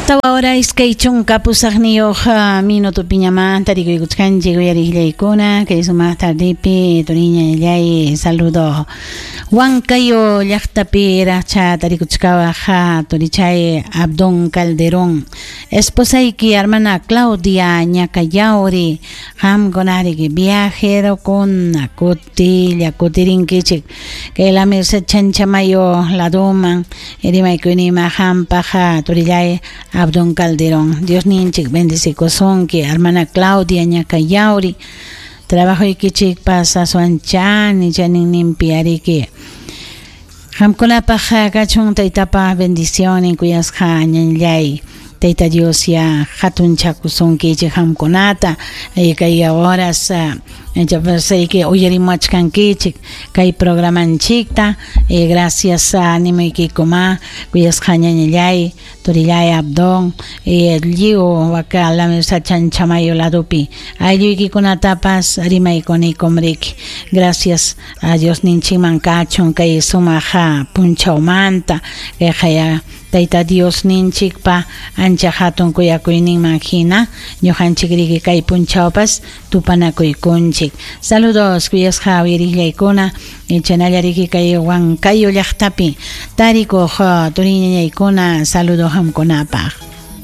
Tawa hora 28 minutopiñamanta tarikuykuchkanchik uyariqllaykuna kay sumaq tardepi turiñallay saludo Huancayo llaqtapi racha tarikuchkawaq turichay Abdón Calderón esposayki hermana Claudia Ñacayauri qamkunariki viajerokuna kutilla kutirinkichik kay La Merced Chanchamayo laduman rimaykuynima qampaq turillay Abdón Calderón. Dios ninchik bendecikusunki hermana Claudia Ñacayauri trabajoykichikpas aswan chani chaninninpi ariki qamkunapaq kachun taytapa bendicionin kuyasqa ñanllay Tayta Dios ya hatunchakusunkichik qamkunata kay horas que uyarimuachkankichik kay programanchikta gracias animuykikuma kuyasqa ñañallay turillay Abdón lliw waka La Merced Chanchamayo ladupi aylluykikunatapas rimaykunikum riki gracias a Dios ninchikman kachun kay sumaq punchawmanta kayqaya Tayta Dios ninchikpa ancha hatun kuyakuyninman hina ñuqanchik riki kay punchawpas tupanakuykunchik. Saludos kuyasqa uyariqllaykuna chanalla riki kay Huancayo llaqtapi tarikuq turiñañaykuna saludo qamkunapaq.